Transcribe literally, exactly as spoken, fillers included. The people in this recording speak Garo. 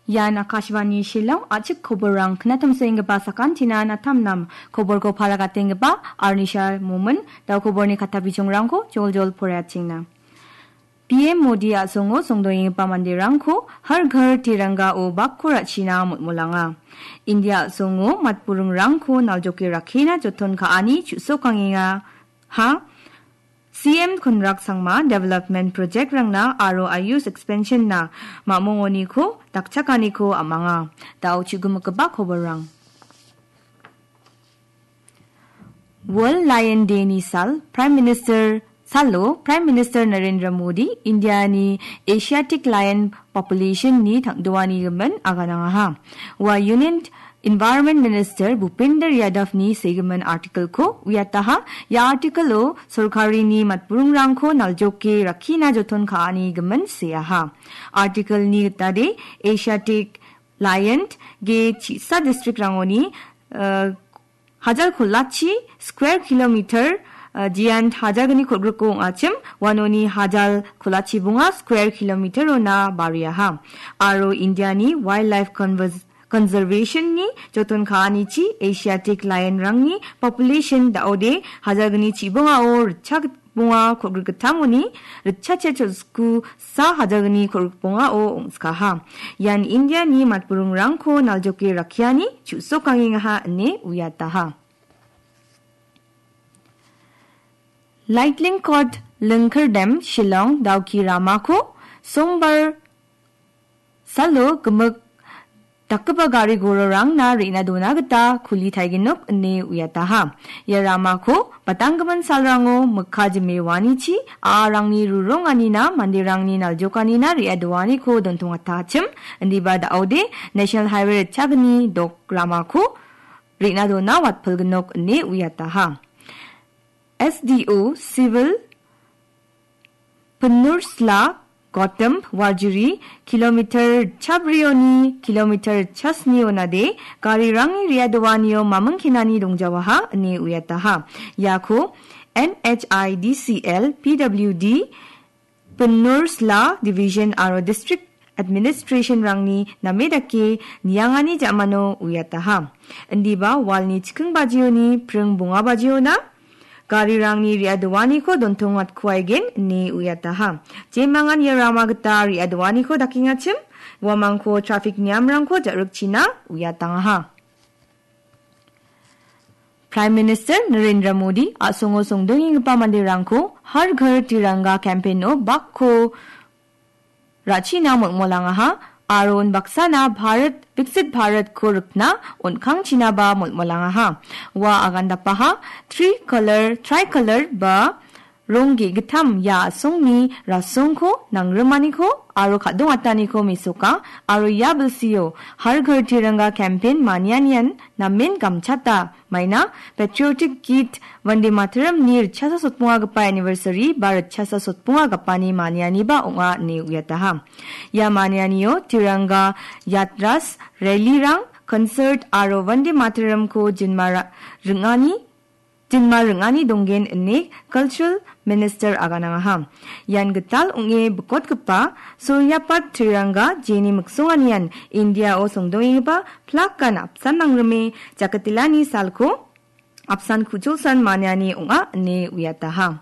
Ian Akashvani Shillong, a·chik koborrang knatamsoenggipa sakantinan atam nam. Koborko palagatenggipa Arnishar Momin, dao koborni katta bijongrangko joljol poraiatengna. P M Modi a·songo songdoenggipa manderangko Har Ghar Tirangao bakko ra·china molmolanga. India a·songo matburingrangko naljoke rakkina joton ka·ani chu·sokangenga. Ha? C M Konrak Sangma development project-rangna aro Ayush expansion-na ma·mongoniko dakchakaniko am·anga. Dao chu·gimikgipa koborrang. World Lion Day-ni sal, Prime Minister salo Prime Minister Narendra Modi India-ni Asiatic Lion Population-ni tangdoani gimin aganangaha. Ua Union Environment Minister Bhupender Yadav-ni segimin article-ko uiataha. Ia article-o sorkarini matburingrangko naljoke rakkina joton ka·ani gimin seaha. Article-ni gitade Asiatic Lion ge chi·sa district-rangoni, eh, hajar kolachi square kilometer, eh, jian hajar gni kolgriko ong·achim, uanoni hajar kolachi bonga square kilometer-ona bariaha. Aro India-ni Wildlife Convers-, Conservation-ni joton ka·anichi Asiatic Lion-rangni population da·ode hajar gni chibongao ritchak bonga kolgrikgittamoni ritchachet cholsku sa hajar gni kolgrikbongao ong·skaha. Ian India-ni matburingrangko naljoke rakkiani chu·sokangengaha ine uiataha. Lightning Court Lingkerdam Shillong Dawki ramako Sombar salo gimik dakgipa gari gororangna re·na dona gita kuli taigenok ine uiataha. Ia ramako batanggimin salrango mikka jime uanichi a·arangni ruronganina manderangni naljokanina re·adoaniko dontongatachim, indiba da·ode National Highway ritchagni dok ramako re·na dona watpilgnok ine uiataha. S D O Civil Pinnursla Gotham Warjuri kilometer chabrioni kilometer chasni onade garirangni re·adoanio mamingkenani dongjawaha ine uiataha. Iako N H I D C L, P W D, Pinnursla Division aro District Administration-rangni name dake niangani ja·mano uiataha. Indiba walni chikking bajioni pring bonga bajiona garirangni re·adoaniko dontongatkuaigen ine uiataha. Jemangan ia rama gita re·adoaniko dakengachim, uamangko traffic niamrangko ja·rikchina uiatangaha. Prime Minister Narendra Modi a·songo songdoenggipa manderangko Har Ghar Tiranga campaign-o bakko ra·china molmolangaha aro unbaksana Bharat, Viksit Bharatko rikna on·kangchinaba molmolangaha. Ua agandapaha three color, tricolor ba rong ge·gittam ia a·songni rasongko nangrimaniko aro kadongataniko mesoka aro ia bilsio Har Ghar Tiranga campaign manianian namen gamchata maina Patriotic Geet Vande Mataramni ritchasa sotbongagipa anniversary ba ritchasa sotbongagipani manianiba ong·a ine uiataha. Ia manianio Tiranga Yatras, rally-rang, concert aro Vande Mataramko jinma ra-, ring·ani jinma ring·ani donggen ine Cultural Minister aganangaha. Ian gital ong·e bikotgipa Suryapat Tiranga jeni miksonganian India-o songdoenggipa plakan apsan nangrime jakatelani salko apsan kuchulsan maniani ong·a ine uiataha.